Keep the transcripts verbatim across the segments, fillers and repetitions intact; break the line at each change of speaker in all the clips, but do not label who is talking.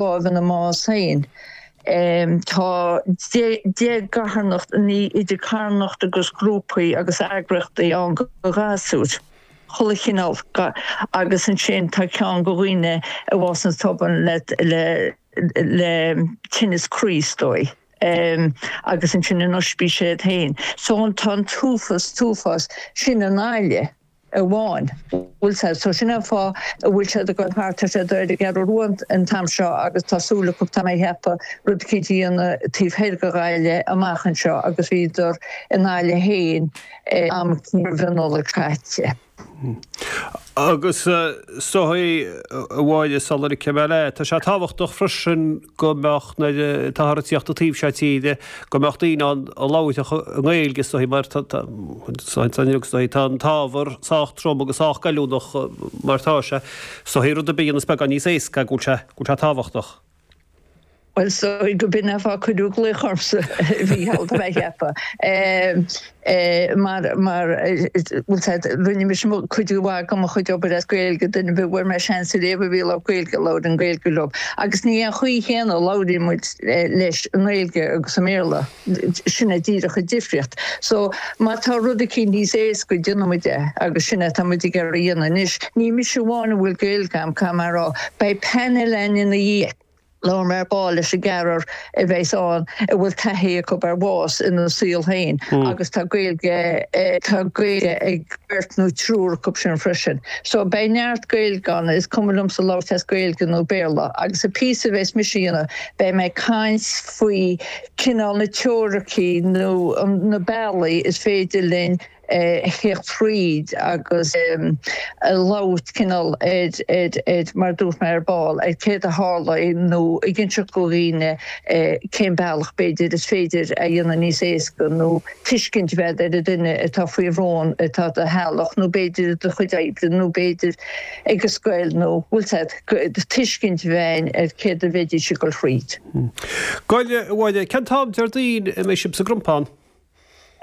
lámh ina mbás féin. Tá deich gcarthanacht, ní idir carthanacht agus grúpaí agus eagraíochtaí ann do ghasúir, chuile chineál, agus ansin tá ceann do dhaoine a bhásaíonn tobann le le le tinneas croí is dóigh. Agus ansin in ospís iad féin. So tá an t-uafás, t-uafás sin i nGaillimh. amháin. Bhfuil sé so sin an fáth a bhfuil siad ag dul thart ar siad ar an gCeathrú Rua an t-am seo agus tá súil acu tá mé ag ceapadh rud eicínt a dhéanamh taobh thoir de Ghaillimh amach anseo agus bhíodar i nGaillimh féin am roimh an Nollaig caite.
Agus is dóigh a Mháire sula ligfidh mé leat, tá sé tábhachtach freisin go mbeadh nuair atáthar ag tíocht an taobh seo tíre, go mbeadh daoine ann a labharfadh i nGaeilge is dóigh mar tá tá an t-ábhar sách trom agus sách goilliúnach mar atá sé. Is dóigh rud ar bith a dhéanas beagán níos éasca go bhfuil sé go bhfuil sé tábhachtach.
Bhuel, is dóigh go b'in an fáth a cuireadh glaoch ormsa a Mhícheál, tá mé ag ceapadh. Mar, mar, bhfuil sé, rinne mise cuid mhaith de mo chuid obair as Gaeilge, duine ar bith a bhfuair mé seans ariamh a bhí ag labhairt Gaeilge, labhair an Gaeilge leo. Agus ní an chaoi chéanna a labhraíonn muid leis i nGaeilge agus i mBéarla. Sin é díreach an difríocht. So, má tá rud eicínt níos éasca, déanfaidh muid é agus sin é atá muid ag iarraidh a dhéanamh anois. Ní mise amháin a bhfuil Gaeilge agam, caithfidh mé a rá. Beidh painéal againn ina dhiaidh. Labhróidh mé ar ball leis an gceathrar a bheas ann a bhfuil taithí acu ar bhás ina saol féin agus tá Gaeilge tá Gaeilge ag beirt nó triúr acu sin freisin. So beidh neart Gaeilge ann, is cuma liomsa labhairt as Gaeilge nó Béarla. Agus an píosa a bheas mise a dhéanamh, beidh mé ag caint faoi cineál na teoiricí nó na bealaí is féidir linn a theacht thríd agus a labhairt cineál ar, ar, ar, mar a dúirt mé ar ball, ar céard a tharla nó ag inseacht do dhaoine cén bealach b'fhéidir is féidir a dhéanamh níos éasca nó tuiscint a bheith ar an duine atá faoi bhrón atá i do theaghlach nó b'fhéidir i do chuid oibre nó b'fhéidir ag an scoil nó bhfuil 's agat, tuiscint a bheith ar céard a bheidís ag dul thríd.
Gabhaile, a Mháire, cén t-am Déardaoin a mbeidh sibh sa gCrompán?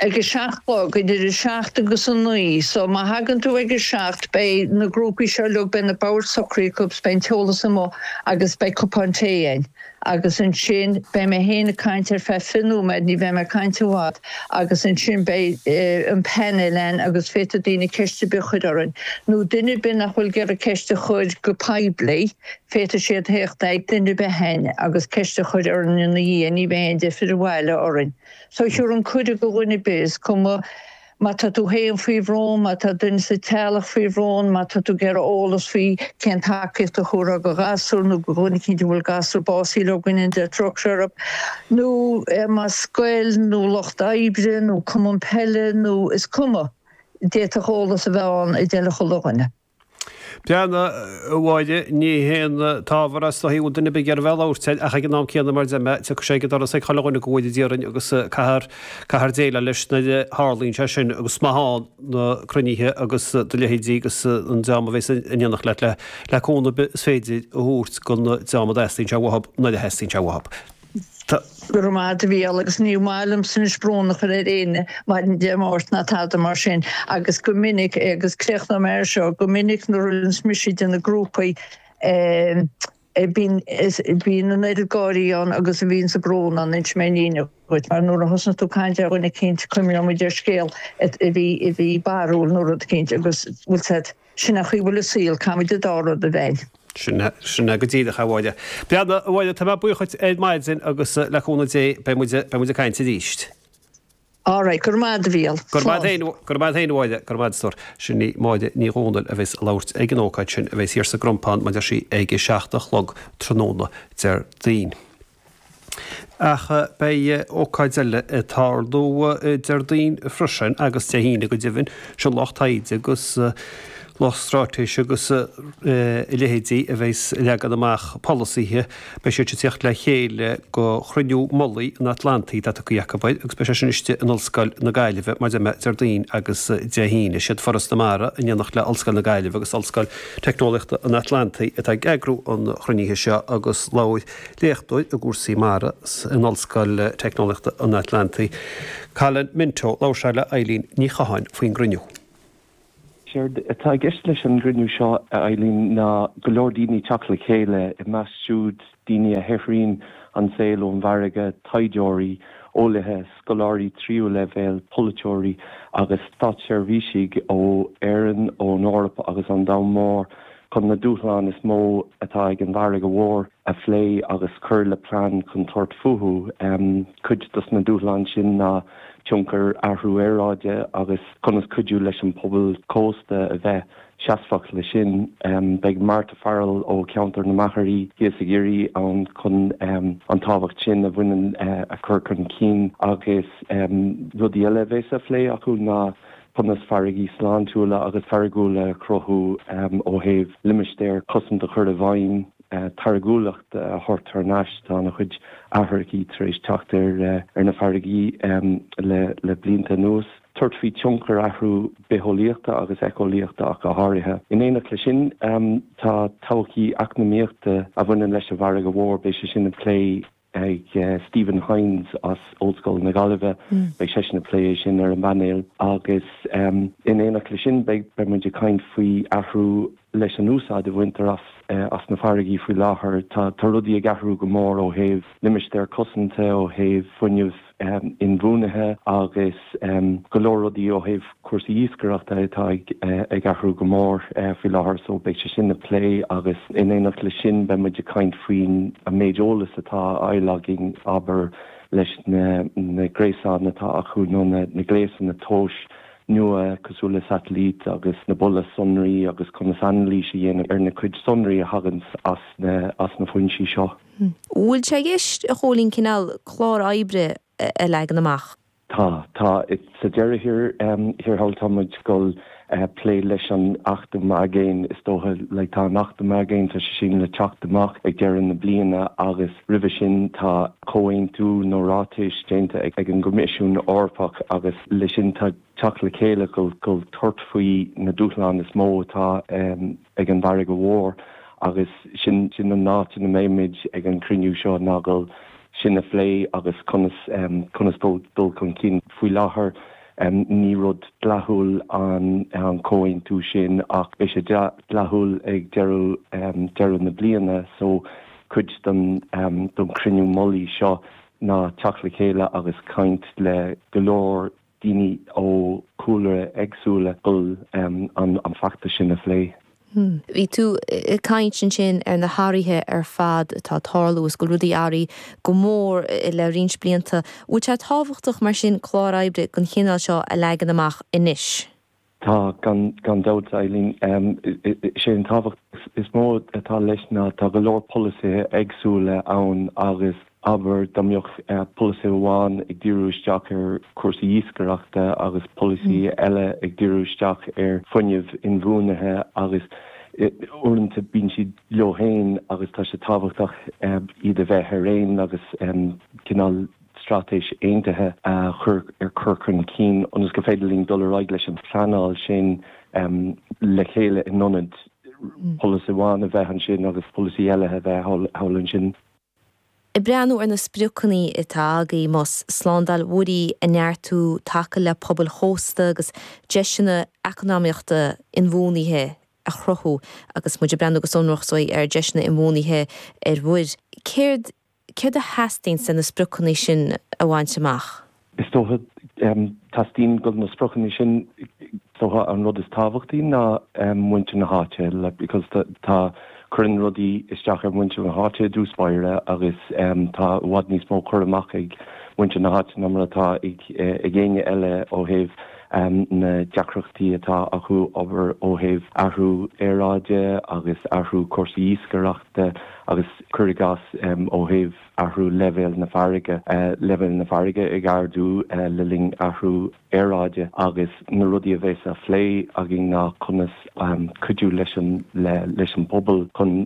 Ag a seacht a chlog, idir a seacht agus a naoi. So má thagann tú ag a seacht beidh na grúpaí seo uilig, beidh na boird socraithe acu, beidh an t-eolas amuigh agus beidh cupán tae againn. Agus ansin beidh mé féin ag caint ar feadh fiche nóiméad, ní bheidh mé ag caint i bhfad, agus ansin beidh an painéal ann agus féadfaidh daoine ceist ar bith a chur orainn. Nó duine ar bith nach bhfuil ag iarraidh ceist a chur go poiblí, féadfaidh siad theacht ag duine ar bith againn agus ceist a chur orainn ina dhiaidh, ní bheidh aon deifir abhaile orainn. So thabharfainn cuireadh do dhuine ar bith, is cuma má tá tú féin faoi bhrón, má tá duine sa teaghlach faoi bhrón, má tá tú ag iarraidh eolas faoi cén tacaíocht a thabharfá do ghasúr nó do dhuine eicínt a bhfuil gasúr básaithe leo, go ndéana Dia trócaire orthu, nó más scoil nó lucht oibre nó cumann peile nó is cuma, d'fhéadfadh eolas a bheith ann a d'fheilfeadh chuile dhuine.
Breathnaigh, a Mháire, ní haon t-ábhar é is dóichí a bhfuil duine ar bith ag iarraidh a bheith ag labhairt air ach ag an am céanna mar a deir mé, tiocfaidh sé ag an doras ag chuile dhuine go bhfóire Dia orainn agus caithfear, caithfear déileáil leis nuair a tharlaíonn sé sin agus is maith ann na cruinnithe agus do leithéidí agus an dream a bheas in éineacht leat le, le cúnamh ar bith is féidir a thabhairt don dream a dteastaíonn sé uathu nuair a theastaíonn sé uathu.
Go raibh maith agat a Mhícheál agus ní maith liomsa anois brón a chur ar éinne maidin Dé Máirt ná tada mar sin agus go minic agus críochnóidh mé air seo, go minic nuair a bhíonns mise ag déanamh grúpaí bíonn bíonn an oiread gáirí ann agus a bhíonn sa brón ann, inseoidh mé an fhírinne dhuit mar nuair a thosnaíonn tú ag caint ar dhuine eicínt cuimhneoidh muid ar scéal a bhí a bhí barrúil nó rud eicínt agus bhfuil 's agat Sin an chaoi a bhfuil an saol, caithfimid an dá rud a bheith.
Sin é, sin é go díreach, a Mháire. Breathnaigh, a Mháire, tá mé buíoch dhuit ar maidin agus le cúnamh Dé beidh muid, beidh muid ag caint arís.
All right, go raibh maith agat, a Mhícheál.
Go raibh maith agat féin, go raibh maith agat féin, a Mháire, go raibh maith agat, a stór. Sin í Máire Ní Dhomhnaill a bheas ag labhairt ag an ócáid sin a bheas thiar sa gCrompán, mar a deir sí, ag a seacht a chlog tráthnóna Déardaoin. Ach beidh ócáid eile ag tarlú Déardaoin freisin, agus Dé hAoine go deimhin, sin lucht taighde agus lucht straitéise agus a leithéidí a bheas ag leagan amach polasaithe. Beidh siad ag tíocht le chéile go Chruinniú Mullaigh an Atlantaigh atá tugtha acu air agus beidh sé sin istigh in Ollscoil na Gaillimhe, mar a deir mé, Déardaoin agus Dé hAoine. Siad Foras na Mara in éineacht le Ollscoil na Gaillimhe agus Ollscoil Teicneolaíochta an Atlantaigh atá ag eagrú an chruinnithe seo agus labhair Léachtóir i gcúrsaí mara in Ollscoil Teicneolaíochta an Atlantaigh, Colin Minto, labhair sé le Eileen Ní Chatháin faoin gcruinniú.
Séard atá i gceist leis an gcruinniú seo, a Eileen, ná go leor daoine teacht le chéile, i measc siúd daoine a shaothraíonn an saol ón bhfarraige, taighdeoirí, eolaithe, scoláirí tríú leibhéal, polaiteoirí agus státseirbhísigh ó Éirinn, ón Eoraip agus an domhan mór chun na dúshláin is mó atá ag an bhfarraige mhór a phlé agus cur le plean chun tabhairt fúthu. Cuid dos na dúshláin sin ná tionchar athrú aeráide agus conas cuidiú leis an pobal cósta a bheith seasmhach le sin. Beidh Martha Farrell ó Cheantar na Machairí thíos i gCiarraí ann chun an tábhacht sin a bhaineann a chur chun cinn agus rudaí eile a bheas á phlé acu ná conas farraigí sláintiúla agus táirgiúla a chruthú ó thaobh limistéir cosanta a chur i bhfeidhm, táirgiúlacht a thabhairt thar n-ais, tá an-chuid athraithe tar éis teacht ar na farraigí le blianta anuas, tabhairt faoi tionchar athrú bitheolaíochta agus éiceolaíochta ach go háirithe. In éineacht leis sin, tá todhchaí eacnamaíochta a bhaineann leis an bhfarraige mhór, beidh sé sin á phlé ag Stephen Hynes as Ollscoil na Gaillimhe. Beidh seisean ag plé é sin ar an bpainéal agus in éineacht leis sin beidh beidh muid ag caint faoi athrú leis an úsáid a bhaintear as as na farraigí faoi láthair. Tá tá rudaí ag athrú go mór ó thaobh limistéar cosanta, ó thaobh fuinneamh inbhuanaithe agus go leor rudaí ó thaobh cúrsaí iascaireachta atá ag athrú go mór faoi láthair so beidh sé sin á phlé agus in éineacht leis sin beidh muid ag caint faoin an méid eolas atá á fháil againn abair leis na na gréasáin atá acu nó na na gléasanna tomhais nua cosúil le satailít agus na bulla sonraí agus conas anailís a dhéanamh ar na cuid sonraí a thagann as na as na foinsí seo.
Bhfuil sé i gceist, a Chóilín, cineál clár oibre a leagan amach?
Tá, tá. Sa deireadh thiar, thiar thall tá muid ag dul plé leis an Acht um Aigéin is dócha. Like tá an Acht um Aigéin, tá sé sin le teacht amach ag deireadh na bliana agus roimhe sin tá comhaontú nó ráitis déanta ag an gCoimisiún Eorpach agus leis sin tá teacht le chéile go go tabhairt faoi na dúshláin is mó atá ag an bhfarraige mhór agus sin sin an áit ina mbeimid ag an cruinniú seo ná go sin a phlé agus conas conas dul dul chun cinn. Faoi láthair ní rud dleathúil an an comhaontú sin ach beidh sé dleathúil ag deireadh deireadh na bliana so cuid den den cruinniú mullaigh seo ná teacht le chéile agus caint le go leor daoine ó chúlra éagsúla dul an an feachtas sin a phlé.
Bhí tú ag caint ansin ar na hathruithe ar fad atá ag tarlú is go bhfuil rudaí athraithe go mór le roinnt blianta. Bhfuil sé tábhachtach mar sin clár oibre den chineál seo a leagan amach anois?
Tá, gan gan dabht, Eileen. Is é an tábhacht is mó atá leis ná tá go leor polasaithe éagsúla ann agus abair dá mbeadh polasaí amháin ag díriú isteach ar chúrsaí iascaireachta agus polasaí eile ag díriú isteach ar fuinneamh inbhuanaithe agus uaireanta bíonn siad leo féin agus tá sé tábhachtach iad a bheith ar aon agus cineál straitéis aontaithe a chur ar cur chun cinn ionas gur féidir linn dul ar aghaidh leis an phleanáil sin le chéile in ionad polasaí amháin a bheith ansin agus polasaí eile a bheith thall ansin.
Ag breathnú ar na spriocanna atá agaibh, más slándáil mhuirí a neartú, taca le pobail chósta agus deiseanna eacnamaíochta inbhuanaithe a chruthú agus muid ag breathnú go sonrach so ar deiseanna inbhuanaithe ar mhuir. Céard céard a theastaíonn le na spriocanna sin a bhaint amach?
Is dócha, teastaíonn go na spriocanna sin, is dócha an rud is tábhachtaí ná muintir na háite like because tá cuireann rudaí isteach ar mhuintir na háite i dtús báire agus tá i bhfad níos mó cur amach ag muintir na háite ná mar atá ag ag éinne eile ó thaobh na deacrachtaí atá acu abair ó thaobh athrú aeráide agus athrú cúrsaí iascaireachta agus cuir i gcás ó thaobh athrú leibhéal na farraige, leibhéal na farraige ag ardú le linn athrú aeráide agus na rudaí a bheas á phlé againn ná conas cuidiú leis an leis an bpobal chun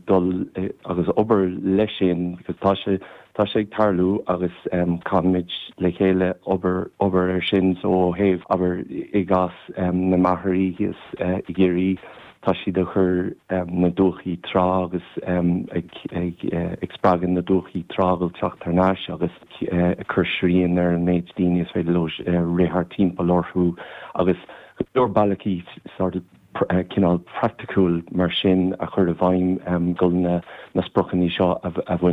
dul agus obair leis sin because tá sé tá sé ag tarlú agus caithfimid le chéile obair obair ar sin so ó thaobh abair i gcás na machairí thíos i gCiarraí Tá siad ag cur na dumhchaí trá agus ag spreagadh na dumhchaí trá a dhul teacht thar n-ais agus ag cur srian ar an méid daoine is féidir leo rith thart timpeall orthu agus Go leor bealaí sort of cineál praiticiúil mar sin a chur i bhfeidhm um, go na na spriocanna seo a, a bhaint